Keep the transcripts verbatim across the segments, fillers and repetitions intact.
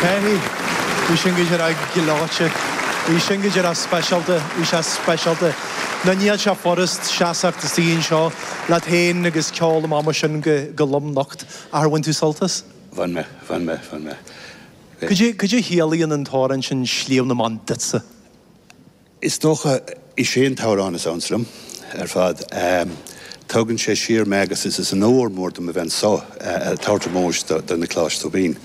Hey, bhí sin go díreach gleoite. Bhí sin go díreach speisialta, bhí sé speisialta. Nó níl sé furast seasamh istigh anseo leat féin agus ceol amach mar sin go go lom nocht. Ar bhain tú sult as? Bhain mé, bhain mé, bhain mé. Cad é cad é a chiallaíonn an t-amhrán sin Sliabh na mBan duitse? Is dócha is é an t-amhrán is ansa liom ar fad. Tugann sé siar mé agus is is onóir mór dom a bheith anseo ag tabhairt ómóis do do Nioclás Tóibín.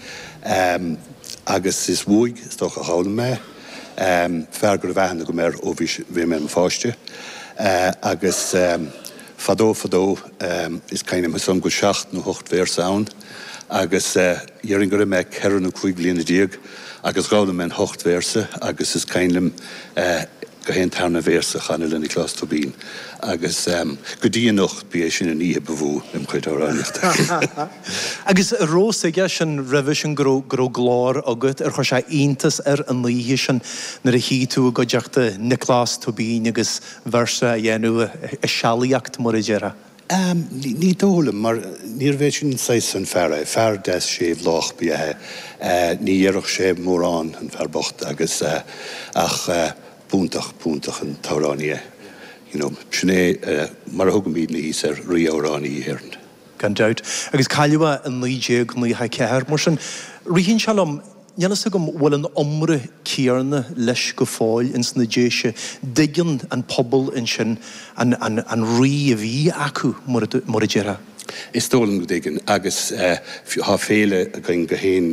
Agus is uaidh is dócha a d'fhoghlaim mé, fear go raibh aithne agam air ó bhí bhí mé i mo pháiste. Agus fadó fadó is cuimhin liom go bhfuil seacht nó ocht véarsa ann agus déarfainn go raibh mé ceithre nó cúig bliana déag agus d'fhoghlaim mé an hocht véarsa agus is cuimhin liom gach aon tarna véarsa a chanadh le Nioclás Tóibín agus go dtí anocht ba é sin an oíche ba mhó im chuid amhránaíochta. Agus an raibh fhios aige sin roimhe sin go raibh go raibh glór agat ar chuir sé iontas air an oíche sin nuair a shuigh tú i gcuideachta Nioclás Tóibín agus véarsa a dhéanamh i sealaíocht mar a déarfá? Ní dóigh liom, mar níorbh é sin saghas an fear é. Fear deas séimh lách ba ea é. Ní dhéarfadh sé mórán, an fear bocht, agus ach b'iontach, b'iontach an t-amhránaí é. You know, sin é mar a thugaimidne thíos air, rí-amhránaí na hÉireann. Gan dabht. Agus cailleadh é i naoi déag nócha a ceathair. Mar sin, ritheann sé liom, níl fhios agam bhfuil an iomrá céanna leis go fóill ins na Déise. Dtuigeann an pobal ansin an, an, an rí a bhí acu, mar a, mar a déarfá. Is dóigh liom go dtuigeann, agus tá féile againn gach aon